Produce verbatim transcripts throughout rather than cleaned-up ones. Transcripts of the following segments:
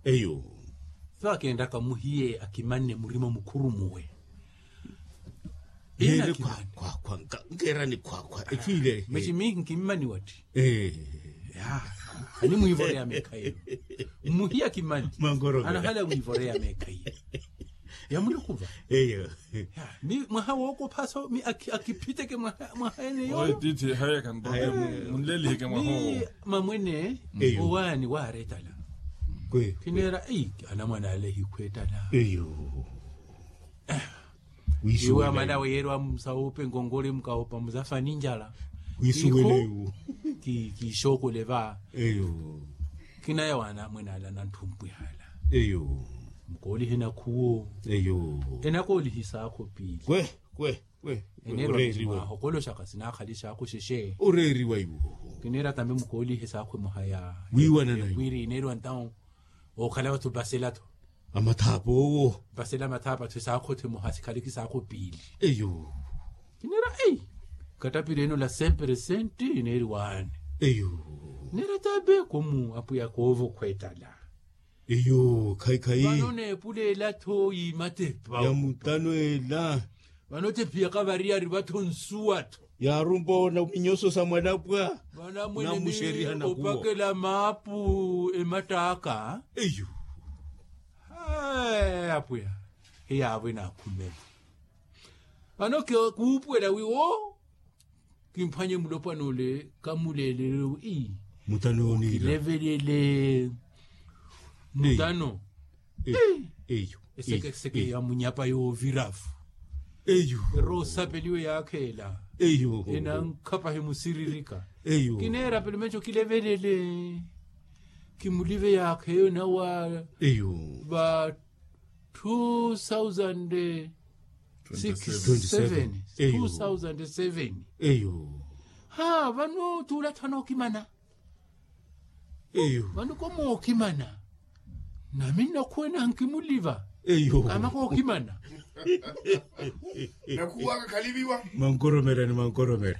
Eyo. Vaakenraka muhiye akimanne murima mukhurumuwe. Nkeerani khwakhwa. Mexi mihi nkimmani watthi. Animwiivoreya meekhayi. Mmuhiya kimani. Anahala wiivoreya meekhayi. Ya mulukuva. Eyo. Ni mwaha wookophaso mi akiphiteke mwaha ene yooyo. Tiithi hayaka ntoke. Munleliheke mwaha owo. Mamwene. Owaani waaretala. Kineera anamwana ale hikhweetala. Eyo. Iwe amana weerwa musawupe ngongole mukawopa muzafani njala. Wisuwele iwu. Kiixookole va. Eyo. Kinaya wana mwene ala nanthumpwihala. Eyo. Mukoolihe nakhuwo. Eyo. Enakoolihi saakho piili. Kwe kwe kwe. Eneerwa mwaho koloxaka sinaakhali saakho xexe. Oreeriwa iwo. Kineera tambe mukoolihe saakho muhaya. Wiiwana nayo. Ekwiri ineerwa ntawo. Ookhala vathu vasela tho. Amathaapa owo. Vasela mathaapa tho esaakho tho emoha sikhaliki saakho piili. Eyo. Kineera ei. Katapireeno la sempre senti ineeri waani. Eyo. Neera tabe komu apwiya koovo khweetala. Eyo khayi khayi. Vano neepuleela tho yiimatepa ya mutano ela. Vano tephiyaka variyari vatho nsuwa tho. Yaarumpa ona minyoso sa mwanapwa. Vano amwene ni opakela maapu emattaaka. Eyo. Apwiya. Hiyaavo enaakhumela. Vano kuupuwela wiwo. Kimphwanye mulopwana ole kamuleelele wi. Mutano ooniira. Kilevelele. Mutano. Eyo. Esekeseke ya munyapa yooviravu. Eyo. Erosapeliwe yaakheela. Eyo. Enankhapa himusiririka. Eyo. Kineera pelumenco kilevelele. Kimulive yaakheyo nawa. Eyo. Va two thousand six seven. Eyo. Two thousand seven. Eyo. Ha vano tuula tho anookimana. Eyo. Vano komookimana. Nami nnakhuwena nkimuliva. Eyo. Kama kookimana. Nakhuwaka khaliviwa. Mankoromera ni mankoromera.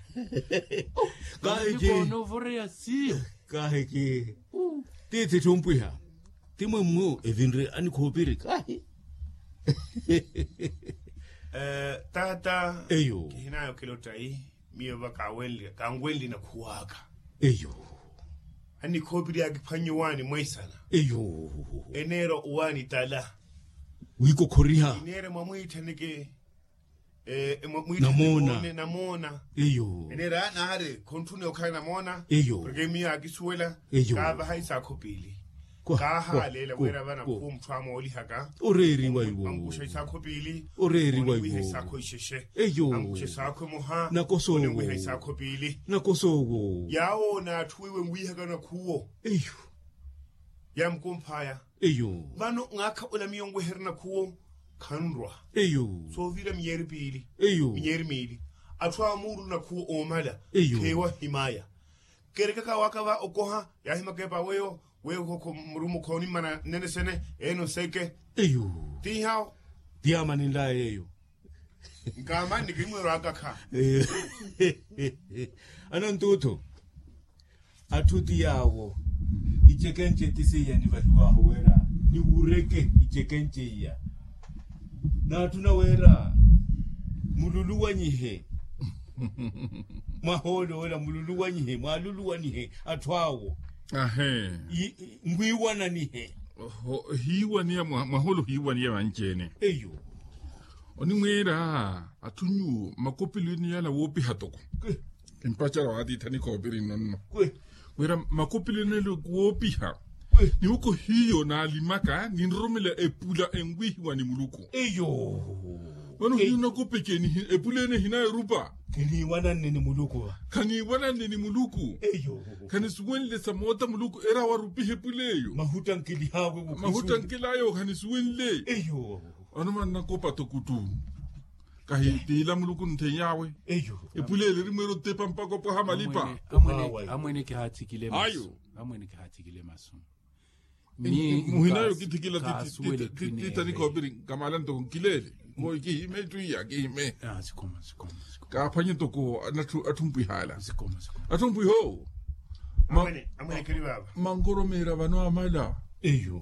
Kaahiki. Koonovoreya siyo. Kaahiki. Tiithi thumpwiha. Ti mwemmu evinre anikhoopiri kahi. Taata. Eyo. Kihinayo kilotta yi. Miyo va kanwenli nakhuwaka. Eyo. Anikhoopiri akiphwannye owaani mweisana. Eyo. Eneera owaani tala. Wiikokhoriha. Ineera mwamwiithaneke. Namoona. Namoona. Eyo. Eneera naari khontthuneya okhala namoona. Eyo. Porke miyo akisuwela. Eyo. Kaavaha isaakho piili. Kaahaleela wira vana khuwo mutthu amoolihaka. Oreeriwa iwo. Ankuxa isaakho piili. Oreeriwa iwo. Isaakho ixexe. Eyo. Ankuxa isaakho emoha. Nakosa owo. Isaakho piili. Nakosa owo. Yaawo n'atthu weiwe nwihaka nakhuwo. Eyo. Yaamukumphaya. Eyo. Vano mwaakha ola miyo nweherya nakhuwo. Khanrwa. Eyo. Soovira minyeeri piili. Eyo. Minyeeri miili. Atthu amuurulu nakhuwo oomala. Eyo. Kheewa himaya. Kerekaka waaka va okoha yaahimaka epa weyo. Weyo murumukha onimmana nene sene. Ene oseke. Eyo. Ti haawo. Ti yaamaninlaya yeeyo. Nkaamani ni kimwirwaaka kha. Ano ntuuthu. Atthu ti yaawo. Icekenci ti seiya nivahiwaahu wira niwureke icekenci iya. N'atthu nawira mululuwanyihe. Mwahoolo wira mululuwanyihe mwaaluluwanihe atthu awo. Ahe. Nwiiwananihe. Hiiwaniya mwahoolo hiiwaniya vanci-ene. Eyo. Onimwiira atthu nyuwo makopelo ene yala woopiha toko. Kimpacerya waatiithi anikhoopiri nno nno. Wira makopelo ene yala woopiha. Niwoko hiyo naalimaka ninroromela epula enwihiwa ni muluku. Eyo. Vano hiyo nakopekeni epula ene hinayi erupa. Khaniiwananne ni muluku va. Khaniiwananne ni muluku. Eyo. Khanisuwenle samoota muluku era warupiha epula eyo. Mahuttankeliha awe. Mahuttankelayo khanisuwenle. Eyo. Ano mannakopa toko ttu. Kahi tiila muluku ntheiyawe. Eyo. Epula ele erimweera otepa mpaka opwaha malipa. Amwene kihaathikile masu. Amwene kihaathikile masu. Muhinayo kithikila. Titanikhoopiri nkamaala ntoko nkileele. Kihime twiya kihime. Kaaphwanye ntoko atthu mpwihala. Atthu mpwiha owo. Mankoromera vano amala. Eyo.